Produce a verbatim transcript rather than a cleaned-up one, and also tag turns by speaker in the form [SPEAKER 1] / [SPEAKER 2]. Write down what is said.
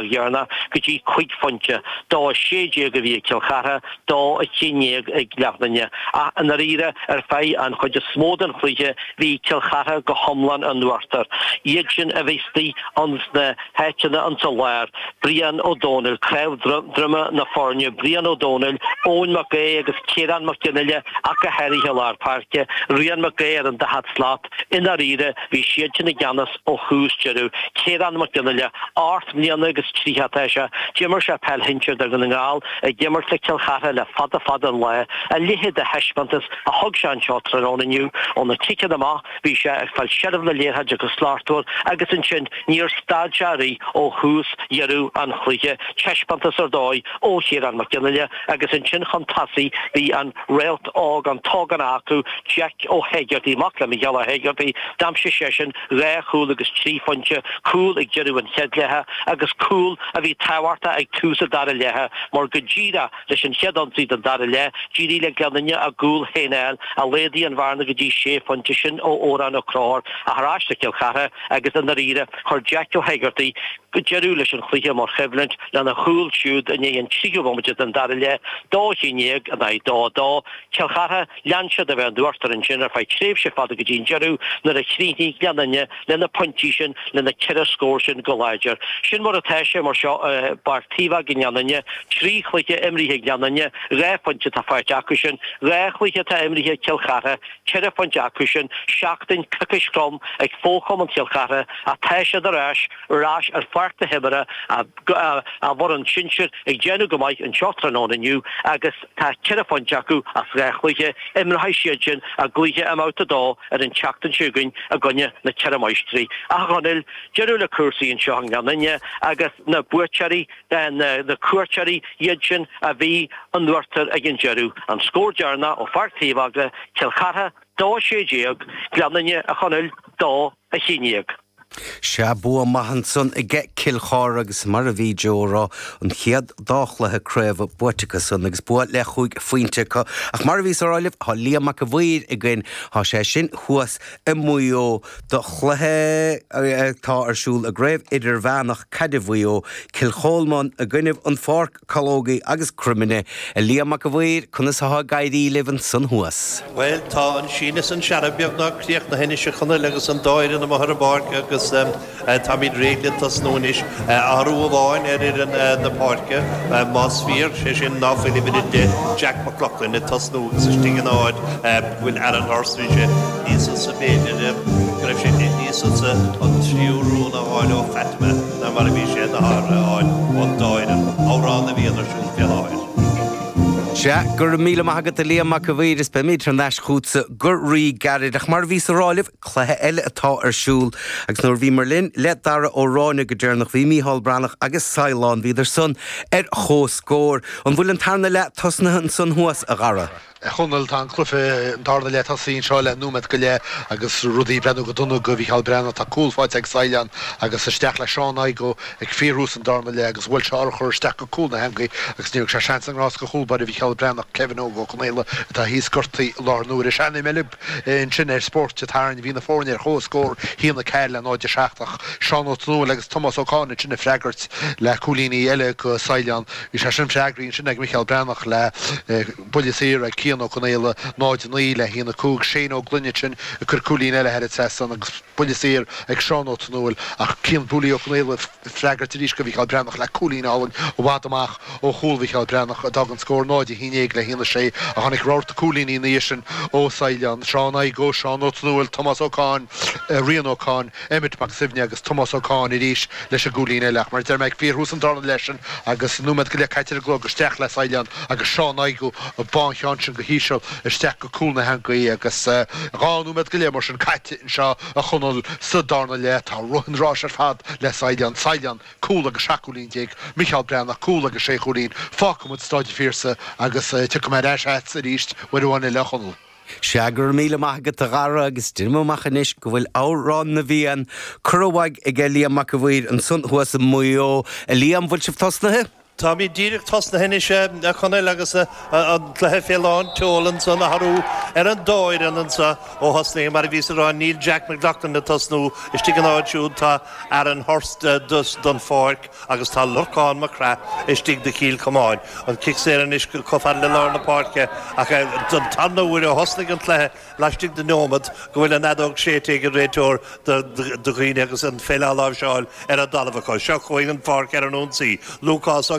[SPEAKER 1] dheireanach go dtí cúig phointe, dó a sé déag a bhí ag Cill Chartha, dó a haon déag ag Gleann Fhinne. Ach i ndáiríre, ar feadh an chuid is mó den chluiche, bhí Cill Chartha go hiomlán in uachtar. Iad sin a bhí istigh ins na háiteanna insa lár, Brian Ó Domhnaill, cnámh droma na foirne, Brian Ó Domhnaill, Eoin Mac Aodha agus Ciarán Mac Fhionnghaile ach go háirithe i lár páirce, Rian Mac Aodha ar an daichead slat. I ndáiríre, bhí siadsan i gceannas ó thús deireadh. Ciarán Mac Fhionnghaile, ocht mbliana agus tríocha atá sé, d'imir sé peil shinsir do Dhún na nGall, ag imirt le Cill Chartha le fada fada an lá. A leithéid de thaispeántas a thug sé anseo tráthnóna inniu. Ó na ciceanna amach, bhí sé ag fáil seilbh na liathróide go slachtmhar agus ansin níor stad sé ariamh ó thús dheireadh an chluiche. Taispeántas ar dóigh ó Chiarán Mac Fhionnghaile agus ansin chun tosaigh bhí an réalt óg, an t-ógánach acu, Jack Ó hÉigeartaigh, mac le Micheál Ó hÉigeartaigh. D'aimsigh seisean dhá chúl agus trí phointe, cúl ag deireadh an chéad leatha agus cúl a bhí tábhachtach ag tús an dara leatha mar go díreach leis an chéad ionsaí den dara leath, d'éirigh le Gleann Fhinne a gcúl féin a fháil a laghdaigh an bhearna go dtí sé phointe, sin ó Odhrán Ó Conchúir ach ar ais do Chill Chartha agus i ndáiríre chuir Jack Ó hÉigeartaigh deireadh leis an chluiche mar choimhlint lena chúl siúd i ndiaidh an tríú bomaite den dara leath, dó a haon déag in aghaidh dó a dó. Cill Chartha, lean siad a bheith in uachtar ansin ar feadh tréimhse fada go dtí an deireadh nuair a chríochnaigh Gleann Fhinne le na pointí sin, le na ceithre scór sin go láidir. Sin mar atá sé mar seo i bPáirc Taobh Óg i nGleann Fhinne. Trí chluiche imrithe ag Gleann Fhinne, dhá phointe atá faighte acu sin. Dhá chluiche atá imrithe ag Cill Chartha, ceithre phointe acu sin. Seachtain, coicís throm ag fo-chumann Chill Chartha ach tá siad ar ais, ar ais ar pháirc na himeartha, a bhfoireann sinsir ag déanamh go maith anseo tráthnóna inniu agus tá ceithre phointe acu as dhá chluiche. Imreoidh siad sin a gcluiche i mbabhta a dó ar an tseachtain seo chugainn i gcoinne na Ceithre Máistrí. Ach a Chonaill, deireadh le cúrsaí anseo i nGleann Fhinne agus na buaiteoirí, na cuairteoirí, iad sin a bhí in uachtar ag an deireadh. An scór deireanach ó Pháirc Taobh Eagla, Cill Chartha, dó a sé déag, Gleann Fhinne, a Chonaill, dó a haon déag.
[SPEAKER 2] Sea, bua maith ansan aige Cill Chartha agus mar a bhí Joe a rá, an chéad dá chluiche craoibhe buaite acu san agus bua le chúig phointe acu. Ach mar a bhíos a rá libh, tá Liam Mac a' Mhaoir againn, tá sé sin thuas i Maigh Eo do chluiche atá ar siúl i gCraobh Idirmheánach Caide Mhaigh Eo, Cill Cholmáin i gcoinnibh An Pháirc Calógaí agus Croimine. A Liam Mac a' Mhaoir, conas atá ag éirí libh ansan thuas?
[SPEAKER 3] Bhuel, tá an síneadh is an searradh beagnach críochnaithe anois, a Chonaill, agus an dá fhoireann amuigh ar an bpáirc agus táimid réidh le tosnú anois. Athrú amháin ar fhoireann na Páirce, más fíor, sé sin ná fuil uimhir a deich, Jack McLoughlin, ag tosnú agus istigh ina áit go bhfuil Aaron Hurst. Bhí sé níos ansa, b'fhéidir, go raibh sé níos ansa an tríú rún a fháil ó Fatima ná mar a bhí sé a fháil ón dá fhoireann. Amhrán na bhFiann ar siúl fé láthair.
[SPEAKER 2] Sea, go raibh míle maith agat a Liam Mac a' Mhaoir is beimid thar n-ais chughatsa go rí-ghairid. Ach mar a bhíos a rá libh, cluiche eile atá ar siúl agus nuair a bhíomar linn le Dara Ó Ráinne go deireanach bhí Micheál Breathnach agus Saighleán, bhíodar san ar chomhscór. An bhfuil an tarna leath tosnaithe ansan thuas, a Dhara?
[SPEAKER 4] A Chonaill, tá an cluiche, an darna leath tosaithe anseo le nóiméad go leith agus rudaí ag breathnú go dona do Mhícheál Breathnach. Tá cúl faighte ag Saighleán agus isteach le Seán Igoe ag fíorthús an darna leath agus bhuail sé urchar isteach go cúl na heangaí agus ní thug sé seans i ngrást do chúl báire Mhícheál Breathnach, Kevin Óg Ó Conaola, atá thíos gortaithe i láthair na huaire. Sean-im eile ansin ar Spórt Dé Sathairn, bhí na foirne ar chomhscór, a haon a ceathair le náid a seacht ach Seán Ó Tonúil agus Tomás Ó Cadhain ansin ag freagairt le cúilíní eile do Saighleán. Bhí sé sin freagraithe ansin ag Micheál Breathnach le. Buille saor ag Cian Ó Conaola, náid a naoi le a haon a cúig, Shane Ó Gloinn ansin ag cur cúilín eile thar an trasnán agus buille saor ag Seán Ó Tonúil ach Cian Booley Ó Conaola ag freagairt arís do Mhícheál Breathnach le cúilín álainn i bhfad amach ó chúl Mhícheál Breathnach a d'fhág an scór náid a haon déag le a haon a sé ach tháinig rabharta cúilíní ina dhiaidh sin ó Saighleán, Seán Igoe, Seán Ó Tonúil, Tomás Ó Cadhain, Rian Ó Cadhain, Emmet Mac Suibhne agus Tomás Ó Cadhain arís leis an gcúilín eile ach mar a deir mé ag fíorthús an darna leath sin agus nóiméad go leith caite ar an gclog isteach le Saighleán agus Seán Igoe ag bá an cheann sin go híseal isteach go cúl na heangaí agus dhá nóiméad go leith mar sin caite anseo a Chonaill sa darna leath. Tá rith an ráis ar fad le Saighleán. Saighleán, cúl agus seacht gcúilín déag, Micheál Breathnach, cúl agus sé chúilín. Fágfaidh muid Stáid an Phiarsaigh agus tiocfaidh mé ar ais agatsa arís uair amháin eile a Chonaill.
[SPEAKER 2] Sea, go raibh míle maith agat a Dhara agus deinim amach anois go bhfuil Amhrán na bhFiann curtha uaidh aige Liam Mac a' Mhaoir ansan thuas i Maigh Eo. A Liam, bhfuil sibh tosnaithe?
[SPEAKER 3] Táimid díreach tosnaithe anois a Chonaill agus an cluiche fé lán tseoil ansan athrú ar an dá fhoireann anso ó thosnaigh mar a bhíos a rá níl Jack McLoughlin ag tosnú istigh an áit siúd tá Aaron Hurst don pháirc agus tá Lorcán Mac Craith istigh do Chill Chomáin. An cic saor anois chomh fada le lár na páirce ach don tarna huair ó thosnaigh an cluiche laistigh de neomat go bhfuil an fheadóg séidte ag an réiteoir do dhaoine agus an pheil á láimhseáil ar an dtalamh acu. Seo chugainn an pháirc ar an ionsaí. Lúcás Ó